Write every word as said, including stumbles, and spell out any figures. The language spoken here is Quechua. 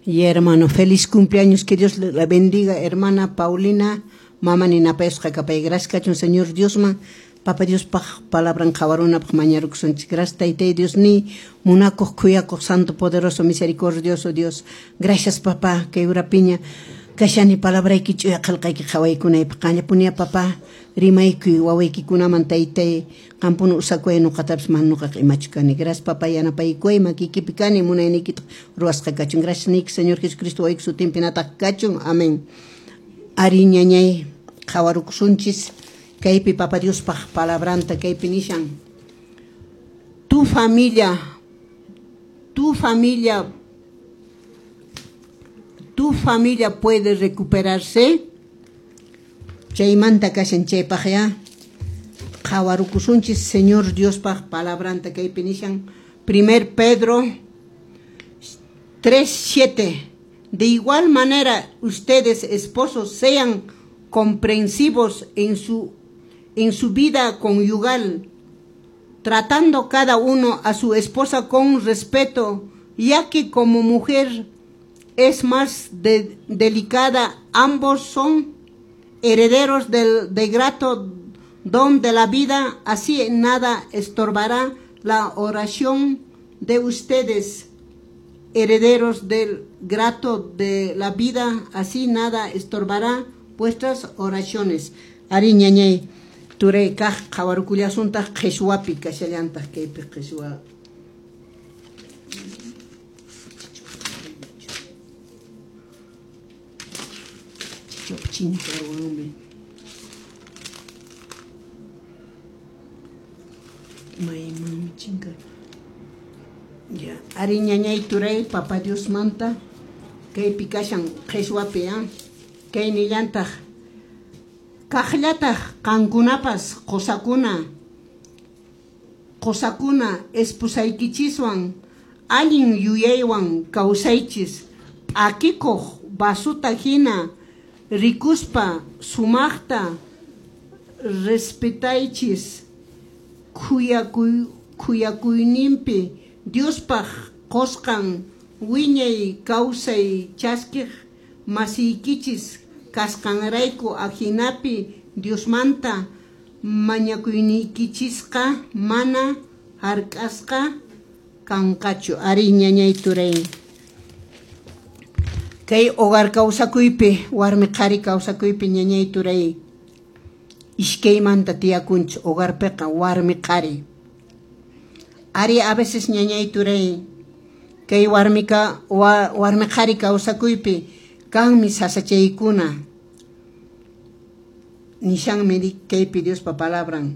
Y hermano, feliz cumpleaños, que Dios la bendiga, hermana Paulina, mama ninapayusqa kapay, gracias kachun Señor Diosman, Papa Dios paq palabran qhawarunapaq mañarukusunchik. Gracias Taytay Dios ni munakuq khuyakuq santo poderoso misericordioso Dios. Gracias papá, kay urapiña kashani palabrayki ch'uya qillqayki qhawaykunaypaq qallapunia papá rimaykuy wawaykikunaman taytay qampuna usakuy nuqatapis mana nuqaqa imachu kani. Gracias papá yanapaykuy makiykipi kani munayniykitaq ruwasqa kachun. Gracias niyki Señor Jesucristo wawayki sutinpi nataq kachun. Amén. Ari ñañay qhawarukusunchis kaypi Papa Diospaq palabranta kaypi nishan. Tu familia, tu familia, tu familia puede recuperarse. Chaymanta kashan chaypaq ya qhawarukusunchis Señor Diospaq palabranta kaypi nishan. Primer Pedro tres siete. De igual manera, ustedes, esposos, sean comprensivos en su, en su vida conyugal, tratando cada uno a su esposa con respeto, ya que como mujer es más de, delicada, ambos son herederos del de grato don de la vida, así nada estorbará la oración de ustedes, herederos del grato de la vida, así nada estorbará vuestras oraciones. Ari ñañay turay kaq qhawarukullasuntaq qhishwapi kashallantaq kaypi qhishwa. Maymanmi chinka. Ya, ari ñañay turay Papa Dios manta kaypi kashan qhishwapi ah. Kay nillantaq kaqllataq qankunapas qusakuna qusakuna esposaykichiswan allin yuyaywan kawsaychis p'akikuq vasuta hina rikuspa sumaqta respetaychis khuyakuy khuyakuyninpi Diospaq qusqan wiñay kawsay chaskiq masiykichis kasqanrayku ajinapi Diosmanta mañakuyniykichisqa mana hark'asqa kanqachu. Ari ñañay turay kay hogar kawsakuypi warmi qhari kawsakuypi ñañay turay iskaymanta tiyakunchik hogarpiqa warmi qhari. Ari a veces ñañay turay kay warmika wa, warmi qhari kawsakuypi kanmi sasachaykuna nishanmi kaypi Diospa palabran.